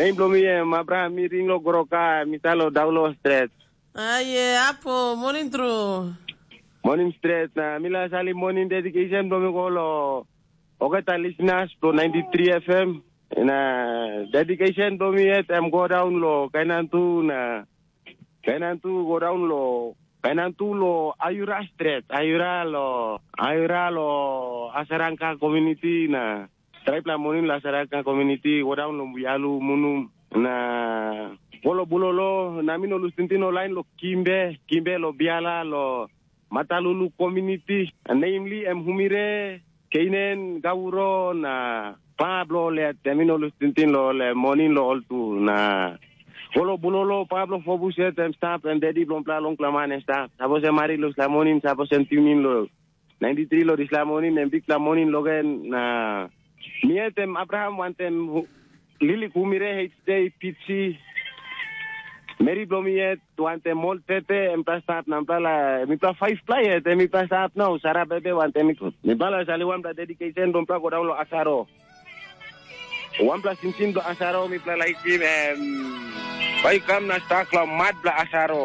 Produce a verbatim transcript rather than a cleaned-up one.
Nem bilong mi em Abraham, mi ring lo groka, mi stap lo Daulo Stret. Aye, apo, morning tru. Morning Stret, na mi laik salim morning dedication bilong mi go lo olgeta listeners bilong ninety three F M. Na dedication bilong mi yet em go daun lo Kainantu na Kainantu go daun lo Kainantu lo Ayura Stret, Ayura lo Ayura lo Asarangka community na traipela morning lo Asarangka community go daun lo Muyalu Munum na Polo Bulolo na mi no lus tingting lo lain lo Kimbe, Kimbe lo Biala lo Matalulu community, namely em Humire, Keinen, Gauro na pa bilong ol yet em i no lus tingting lo ol em, moning lo ol tu. Na Polo Bulolo, pa bilong Fobus yet em stap, em dedi bilong pela longpela man em stap. Sapos em hari lo dispela moning, sapos em tiunin lo ninety three lo dispela moning, em bikpela moning lo gen. Na mi yet em Abraham wantem hu- Lili Kumire, H J Pitsi, meri bilong mi yet, wantem ol tete, em pla stap na pla, mipla faiv pla yet, em mipla stap nau, Sara Bebe, wantem mi. Mipla sali wanpla dedication bilong pla go daun lo Asaro. Wanpla sinsin bilong Asaro, mipla laikim, em, bai kam na stak lo mat bilong Asaro.